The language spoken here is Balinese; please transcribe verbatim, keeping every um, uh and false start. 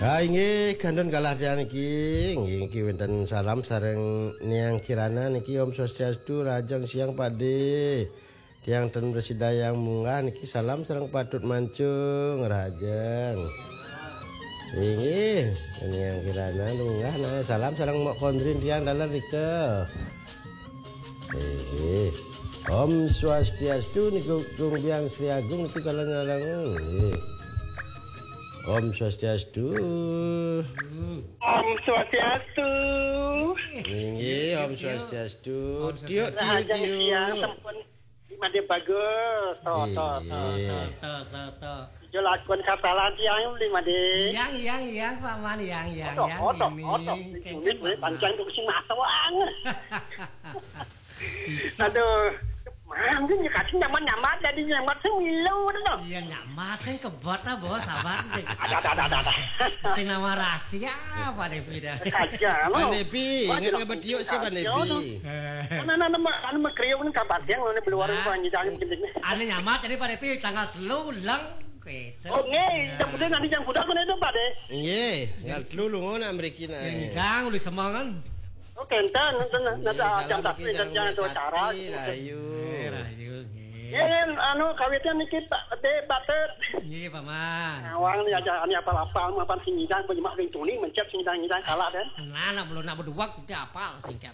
Ah, inggih, kantun galah tiang niki. Inggih, niki wénten salam sareng Niang Kirana niki, Om Swastiastu, rahajeng siang, Pakdé. Tiang ten prasida munggah niki, salam sareng Patut Mancung, rahajeng. Inggih, Niang Kirana munggah, nah, salam sareng Mok Kondrin tiang daler nika. Inggih. Om Swastiastu niku, Gung Biang Sri Agung niki kala nyarang. Inggih. Om Swastiastu. Om Swastiastu. Inggih, Om Swastiastu. Om Tiuk, Swastiastu. Tiuk, rahajeng tiuk. Siang sampun Madé bagus. To, to, to, Inggih. To, to, to, to. Ijo lakon kasalan tiang beli Madé. Yang, yang, yang, Pak Man, yang, yang, Otok, yang otok, ini. Otok. Kengken, Ini duit Pak Man. Pancen tuh sing matoang. Bisa. Aduh, mangkin ya kasih nyaman-nyaman jadi nyaman sing milu to. Iya, nyaman kan kebot lah, Bos, sabar. Ada, ada, ada, ada, ada. Sing nama rahasia, Pak Devi dah. Aja, Pak Devi, ingat nggak betiuk sih, Pak Devi? Mana, mana, mana, mana kriuk nih kabar siang, mana keluar. Nah, Pak Nyidang, eh, gini. Ane nyamat jadi Pak Devi tanggal telu leng, gitu. Oh, nggih, yang penting nanti yang budak mana itu, Pak De? Nggih, tanggal telu lunga nak mriki nak. Yang Nyidang, uli semangan. Oh, kenten, nenten, nenten. Nggih, salam jam satu, niki jam sareng Mbak acara, Kati, gitu. Rahayu. Eh, rahayu, nggih. Nggih, anu, kawitan niki, Pak De, Pak De. Nggih, Paman. Nawang nih aja, ini apa-apa, apa sing Nyidang, penyemak ring tuni, mencet sing Nyidang, Nyidang kalah, kan? Nah, nak belum, nak berdua, kita apa, singkat.